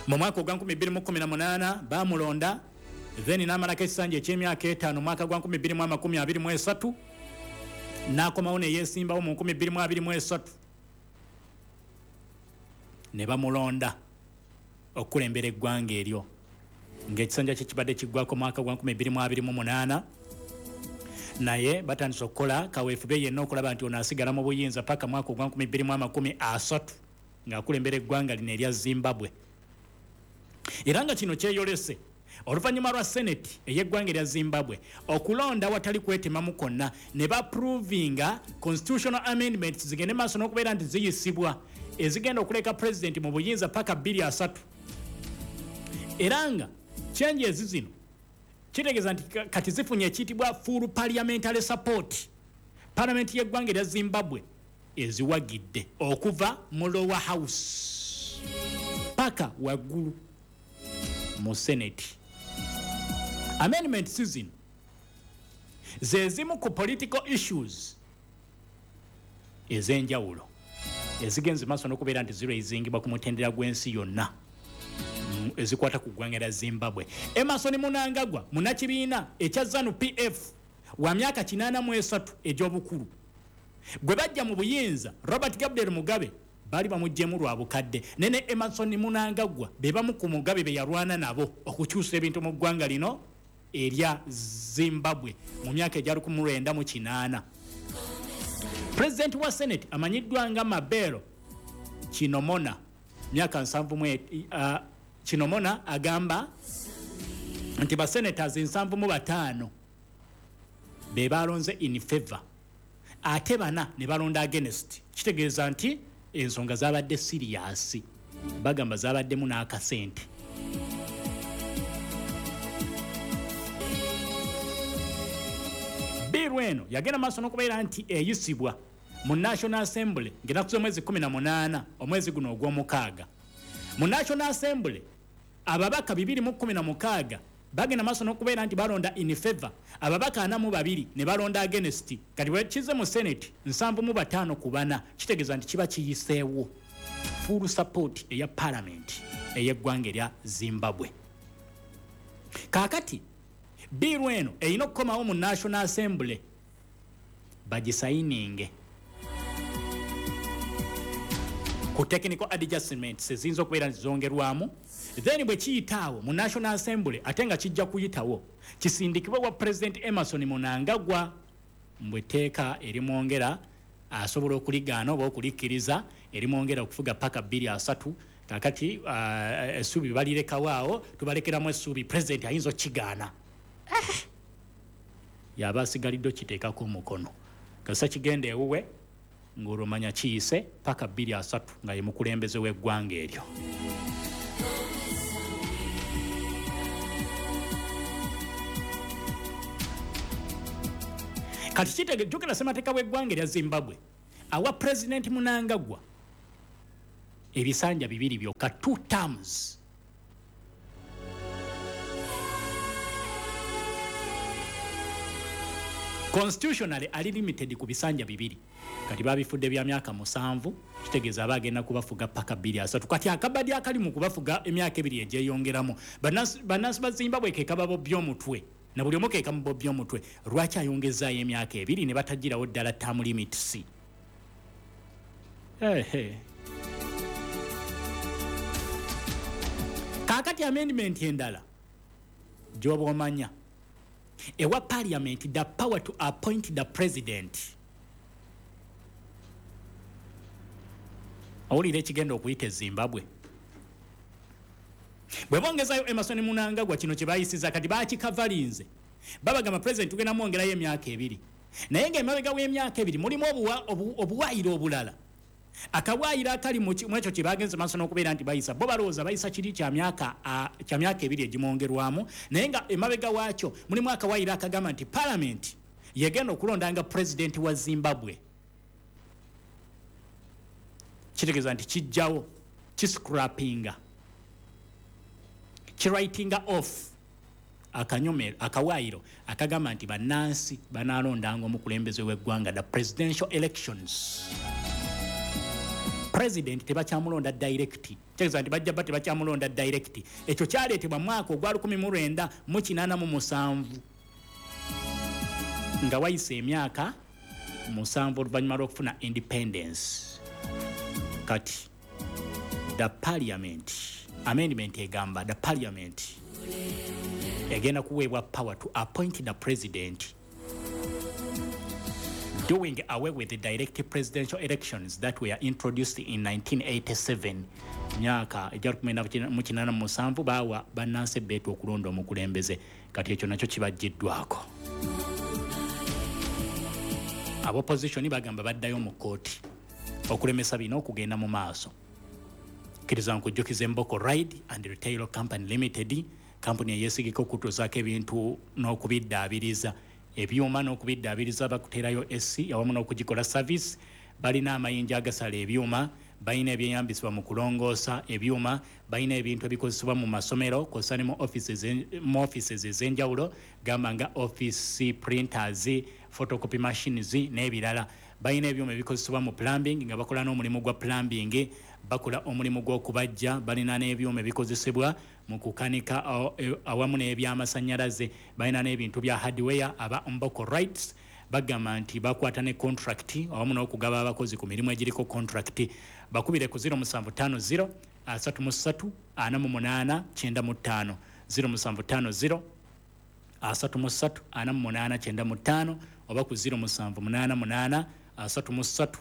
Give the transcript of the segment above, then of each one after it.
Mu mwaka ogwa 2018 bamulonda, then n'amalako ekisanja eky'emyaka 5 mwaka gwa 2023, n'akomawo neyeesimbawo mu 2023 ne bamulonda okukulembera eggwanga eryo, ng'ekisanja kye kibadde kiggwako mwaka gwa 2028. Naye batandise okukola kaweefube yenna okulaba nti ono asigala mu buyinza paka mwaka ogwa 2030 ng'akulembera eggwanga lino erya Zimbabwe. Era nga kino kyeyolese oluvannyuma lwa Senate ey'eggwanga erya Zimbabwe okulonda watali kwetemamu kwonna ne baprovinga constitutional amendments zigende maaso n'okubeera nti ziyisibwa, ezigenda okuleka pulezidenti mu buyinza paka 2030. Era nga changes zino kitegeeza nti kati zifunye ekiyitibwa full parliamentary support. Palamenti y'eggwanga erya Zimbabwe eziwagidde okuva mu lower house paka waggulu mu Senate. Amendments zino ze zimu ku political issues ez'enjawulo ezigenze maaso n'okubeera nti ziraisingibwa ku mutendera gw'ensi yonna ezikwata ku ggwanga lya Zimbabwe. Emmerson Mnangagwa munnakibiina ekya ZANU PF wa myaka 83 egy'obukulu. Gwe bajja mu buyinza Robert Gabriel Mugabe baali bamuggyemu lwa bukadde, ne Emmerson Mnangagwa be bamu ku Mugabe be yalwana nabo okukyusa ebintu mu ggwanga lino erya Zimbabwe mu myaka egya 1980. Pulezidenti wa Senate amanyiddwa nga Mabelo Chinomona, myaka 70, Chinomona agamba nti ba senators 75 be balonze in favor, ate bana ne balonda against. Kitegeeza nti ensonga zabadde serious, bagamba zabaddemu n'akasente. Bill eno yagenda maaso n'okubeera nti eyisibwa mu National Assembly ng'ennaku z'omwezi 18 omwezi guno ogw'omukaaga. Mu National Assembly ababaka 216 bagenda maaso n'okubeera nti balonda in favor, ababaka 42 ne balonda against. Kati bwe kize mu Senate 75 ku 4, kitegeeza nti kiba kiyiseewo full support eya parliament ey'eggwanga erya Zimbabwe. Kaakati bill eno erina okukomawo mu National Assembly bagisayininge ku technical adjustments eziyinza okubeera nti zongerwamu, then bwe kiyitaawo mu National Assembly, ate nga kijja kuyitawo, kisindikibwe wa President Emmerson Mnangagwa, mbwe etteeka erimwongera asobola okuligaana oba okulikkiriza, erimwongera okufuga paka 2030. Kakati essuubi balirekawo awo, tubalekeramu essuubi, president ayinza okukigaana, yaba asigalidde okiteekako omukono. Kasita kigenda ewuwe ng'olwomanya kiyise paka 2030 nga ye mukulembeze w'eggwanga eryo. Kati jjukira ssemateeka w'eggwanga erya Zimbabwe awa President Mnangagwa ebisanja bibiri byokka, 2 terms. Constitutionally ali limited ku bisanja bibiri. Kati babifudde bya myaka 7, kitegeeza aba agenda kubafuga paka 2030. Kati akabadi akali mu kubafuga emyaka 2 egyeyongeramu, bannansi ba Zimbabwe ke kababobya omutwe, na buli omu ke kamubobya omutwe. Lwaki ayongezaayo emyaka 2 ne batagirawo ddala term limits? Kaakati amendment endala gy'oba omanya ewa parliament the power to appoint the president. Owulira ekigenda okuyita e Zimbabwe bwe bongezayo Emmerson Mnangagwa, kino kye bayisiza kati bakikavalinze, babagamba president tugenda mwongerayo emyaka 2, naye ng'emabega w'emyaka 2 mulimu obuwaayiro obulala. Akawaayiro akali mu ekyo kye bagenze maaso n'okubeera nti bayisa, bo balowooza bayisa kiri kya myaka 2 egimwongerwamu, naye nga emabega waakyo mulimu akawaayiro akagamba nti parliament yegenda okulondanga president wa Zimbabwe. Kitegeeza nti kijjawo, kiscrappinga, kiwritinga off akanyomero, akawaayiro akagamba nti bannansi banaalondanga omukulembeze w'eggwanga, the presidential elections. President tebakyamulonda direct, kitegeeza nti bajja ba tebakyamulonda direct. Ekyo kyaleetebwa mwaka ogwa 1987, nga wayise emyaka 7 oluvannyuma lw'okufuna independence. Kati the parliament amendment egamba the parliament egenda kuweebwa power to appoint the president, doing away with the direct presidential elections that were introduced in 1987. Myaka egya 1987 bawa bannansi beetu okulonda omukulembeze. Kati ekyo nakyo kibajjiddwako. Abopposition bagamba baddayo mu kkooti okulemesa bino okugenda mu maaso. Kkiriza nkujjukiza Emboko Ride and Retail Company Limited, kampuni eyeesigika okutuusaako ebintu n'okubiddaabiriza ebyuma n'okubiddaabiriza. Bakuteerayo AC awamu n'okugikola service. Balina amayinja agasala ebyuma, balina ebyeyambisibwa mu kulongoosa ebyuma, balina ebintu ebikozesebwa mu masomero kw'ossa ne mu offices ez'enjawulo, gamba nga office printers, photocopy machines n'ebirala. Balina ebyuma ebikozesebwa mu plumbing, nga bakola n'omulimu gwa plumbing, bakola omulimu gw'okubajja. Balina n'ebyuma ebikozesebwa mu kukanika awamu n'ebyamasannyalaze. Balina n'ebintu bya hardware. Aba Mboko Rights bagamba nti bakwata ne contract awamu n'okugaba abakozi ku mirimu egiriko contract. Bakubire ku 0750 33 48 95, 0750 33 48 95, oba ku 0788 33 48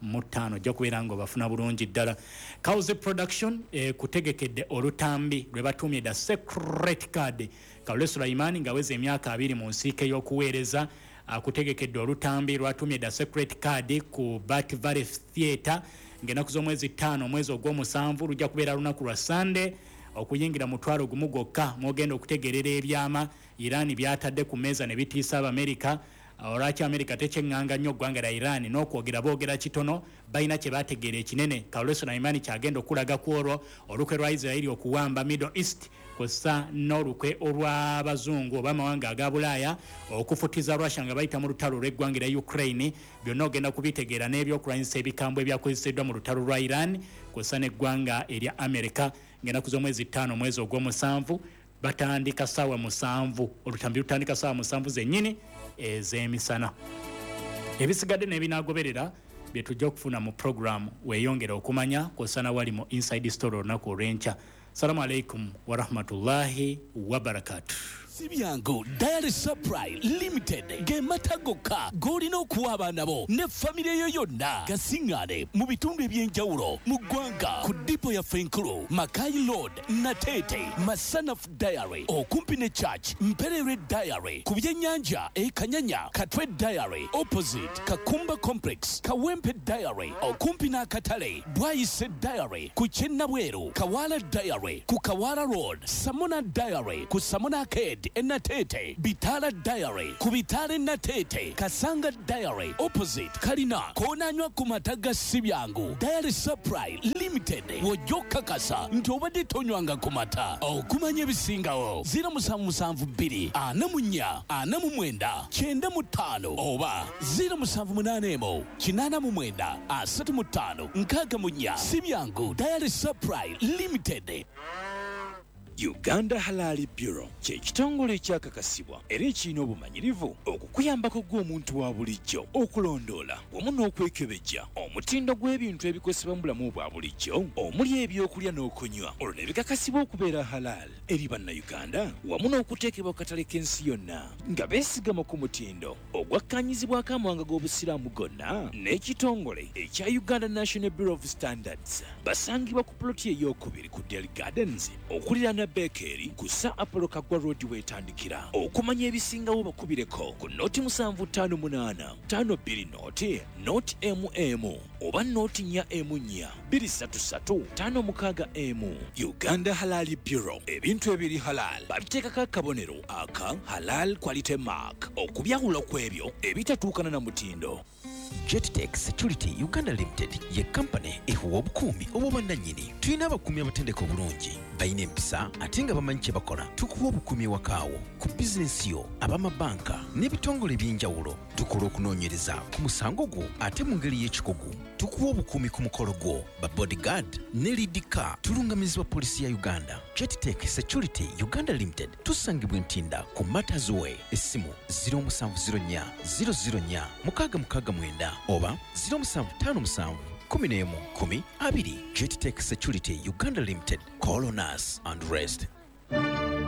95. Ojja kubeera nga obafuna bulungi ddala. Cause Production kutegekedde olutambi lwe batuumye The Secret Card. Kalule Sulaiman ng'aweza emyaka 20 mu nsiike y'okuweereza akutegekedde olutambi lwatuumye The Secret Card ku Bat Valley Theatre ng'ennaku z'omwezi 5 omwezi ogw'omusanvu. Lujja kubeera lunaku lwa Sunday. Okuyingira 10,000 gwokka, mwogenda okutegerera ebyama Iran byatadde ku mmeeza ne bitiisa Abamerika. Olwaki Amerika tekyeŋŋanga nnyo ggwanga lya Iran n'okwogera boogera kitono, balina kye bategeera ekinene. Kalule Sulaiman kyagenda okulaga ku olwo olukwe lwa Israeli okuwamba Middle East, kw'ossa n'olukwe olw'abazungu oba amawanga aga Bulaaya okufutiza Russia nga bayita mu lutalo lw'eggwanga lya Ukraine. Byonna ogenda kubitegeera n'ebyokulwanyisa ebikambwe ebyakozeseddwa mu lutalo lwa Iran kw'ossa n'eggwanga erya Amerika. Ng'ennaku z'omwezi 5 omwezi ogw'omusanvu batandika ssaawa 7, olutambi lutandika ssaawa 7 zennyini ez'emisana. Ebisigadde n'ebinaagoberera bye tujja okufuna mu program weeyongera okumanya kw'ossa na wali mu Inside Story olunaku olw'enkya. Salamu alaikum warahmatullahi wabarakatuh. Si byangu. Dairy Supply Limited ge mata gokka g'olina okuwa abaana bo ne famire yo yonna. Gasiŋŋaane mu bitundu eby'enjawulo mu ggwanga ku dipo yaffe enkulu, Makai Road, Nateete, Masanaf Dairy okumpi ne church, Mpererwe Dairy ku byennyanja e Kanyanya, Katwe Dairy opposite Kakumba Complex, Kawempe Dairy okumpi n'akatale, Bwayise Dairy ku Kyennabweru, Kawala Dairy ku Kawala Road, Samona Dairy ku Samona Arcade e Nateete, Bitala Dairy ku Bitala e Nateete, Kasanga Dairy opposite Kalina. Koonanywa ku mata ga Sibyangu Dairy Supply Limited, w'ojja okukakasa nti obadde tonywanga ku mata. Okumanya ebisingawo, 0772 44 49 95 oba 0781 89 35 64. Sibyangu Dairy Supply Limited. Uganda Halal Bureau kye kitongole ekyakakasibwa era ekirina obumanyirivu okukuyambako gw'omuntu wa bulijjo okulondoola wamu n'okwekebejja omutindo gw'ebintu ebikozesebwa mu bulamu bwa bulijjo, omuli ebyokulya n'okunywa, olwo ne bikakasibwa okubeera halal eri Bannayuganda wamu n'okuteekebwa ku katale k'ensi yonna nga beesigama ku mutindo ogwakkaanyizibwako amawanga g'Obusiraamu gonna n'ekitongole ekya Uganda National Bureau of Standards. Basangibwa ku puloti ey'okubiri ku Del Gardens okuliraana Bekeri ku Sir Apollo Kaggwa Road weetandikira. Okumanya ebisingawo, bakubireko ku 0758 52 0 0 mm oba 044 233 56. Uganda Halal Bureau, ebintu ebiri halal babiteekako akabonero aka Halal Quality Mark okubyawula ku ebyo ebitatuukana na mutindo. Jettech Security Uganda Limited ye kampani ekuwa obukuumi obw'obwannannyini. Tulina abakuumi abatendeka obulungi, balina empisa ate nga bamanyi kye bakola. Tukuwa obukuumi ewakaawo, ku bizinensi yo, ab'amabanka n'ebitongole eby'enjawulo. Tukola okunoonyereza ku musango gwo ate mu ngeri y'ekikugu. Tukuwa obukuumi ku mukolo gwo, ba bodyguard ne lead car. Tulungamizibwa poliisi ya Uganda. Jettech Security Uganda Limited tusangibwa Ntinda ku Matters Way. Essimu 0704 004 669 oba 0757 11 10 20. Jettech Security Uganda Limited. Call on us and rest.